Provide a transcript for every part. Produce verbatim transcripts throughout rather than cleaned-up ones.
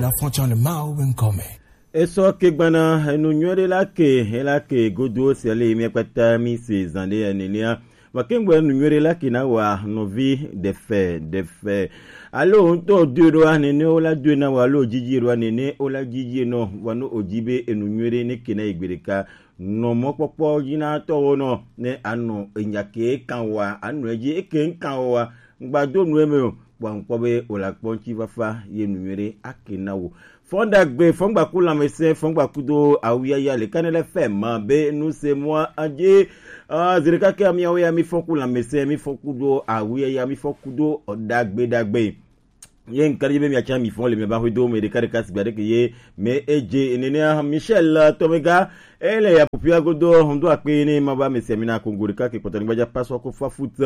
La frontière le Mao Benkome. Esɔ ke gbana enu nyuie ɖe la ke, ela ke godo sia le mia kpata mi se zan ɖe nenea. Makengbe enu nyuie ɖe la ke na wa nɔvi ɖefe, ɖefe. Alo ŋutɔ doe ɖoa nene wo la doe na wa, alo dzidzi ɖoa nene wo la dzidzi nɔ, wa no odzi be enu nyuie ɖe ne ke na yi gbe ɖeka. Nɔ mɔkpɔkpɔ dzi na tɔwo nɔ, ne anɔ enya ke kan wa, anɔ edzi eke kan wa, ŋgba do nu eme o. Kpɔ ŋkpɔ be wòle akpɔ ŋuti fafa ye nu nyuie ɖe ake na wo. Fɔn ɖagbe, fɔn gbaku lãmesẽ, fɔn gbaku do awu yaya le kane le fɛ ma be nu se mɔ adze. Ah, zi ɖeka ke miawo ya mi fɔn ku lãmesẽ, mi fɔn ku do awu yaya, mi fɔn ku do ɖagbe ɖagbe. Ye ŋkari be miatsa mi fɔn le mi ba hwe do me ɖeka ɖeka sigba ɖeke ye me edze nenea Michel Tomega. Ele ya pupia godo hondo akpe ne ma ba mesia mina kongo ɖeka ke kpɔtɔ ni gbaja paso ko fa foot.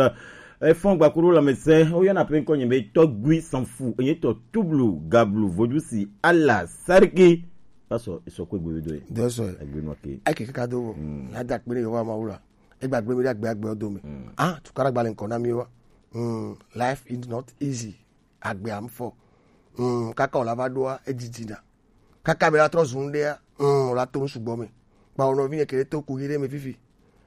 Efɔn gbakuro la mese, o yana pe ŋkɔ nye be Tɔgbui Sanfu, enye tɔ tublu gablu vodusi ala sariki. Paso isoko egbe do ye. Dɔsɔ. Egbe no ke. Ake kaka do. Mm. Ya da kpere yo wa ma wula. Egba gbe mi da gbe agbe do mi. Mm. Ah, tukara gbale ŋkɔ na mi wa. Mm, life is not easy. Agbe am fɔ. Mm, kaka o la va doa edidina. Kaka be la trɔ zun dea. Mm, o la to nu sugbɔ me. Ba o no vi nye kele to ku yi de me fifi.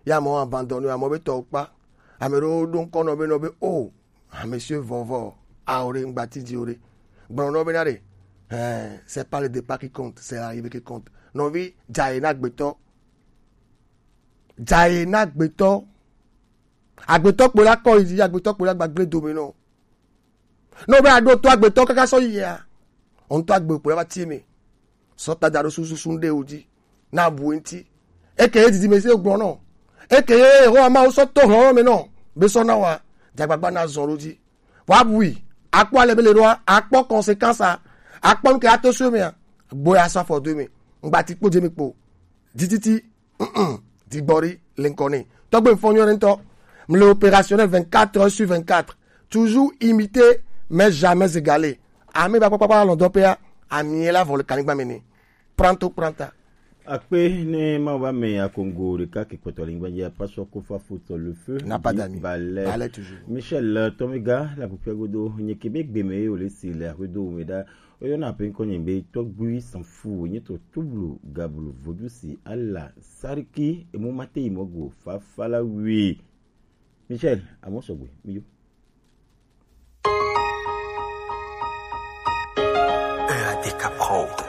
Ya mo abandonné, ya mo be tɔ kpa. Ame ɖewo ɖo ŋkɔ nɔ be, nɔ be, oh, ah, monsieur Vɔvɔ, ah, ore ŋgbati di ore. Gblɔ nɔ be na ɖe, eh, c'est pas le départ qui compte, c'est l'arrivée qui compte. Nɔvi, dzaye na agbetɔ. Dzaye na agbetɔ. Agbetɔ kpo la kɔ yi dzi, agbetɔ kpo la gbagble dome nɔ. Ne o be aɖo to agbetɔ kaka sɔ yi ya, o ŋutɔ agbe kpo la va tie me. Sɔ ta da ɖo susu ɖe o dzi. Na bu ŋuti. Eke ye didi me se gblɔ nɔ. Eke ye ho ama o sɔ to hlɔn me nɔ. Be sɔ na wa. Dzagbagba na zɔn ɖo dzi. Wa bui. Akpɔ ale be le ɖoa. Akpɔ conséquence a. Akpɔ nu ke ato so me a. Gbo ya sɔ afɔ do me. Ŋgbati kpo dze me kpo. Dititi. Mm-mm. Digbori le ŋkɔ ne. Tɔgbe fɔ nyɔ ŋutɔ. Mle opérationnel vingt-quatre heures sur vingt-quatre. Toujours imité, mais jamais égalé. Ame ba kpakpa lɔn dɔ pea, ami la vɔ le kanigba me ne. Pranto pranta. Akpe ne ma va me akongo ɖeka ke kpɔtɔ le ŋgba ya paso ko fa foot le feu. N'a pas d'amis. Ballet. Ballet toujours. Michel, euh, Tomega, la pupia godo, nye ke be gbe me o le si le akodo me da. Oyɔna pe ŋkɔ nye be Tɔgbui Sanfu, nye tɔ tublu gablu vodusi ala sariki emu mate yi mɔgo fafala wi. Michel, amo sɔgbe, mi yo. E A D K Prod.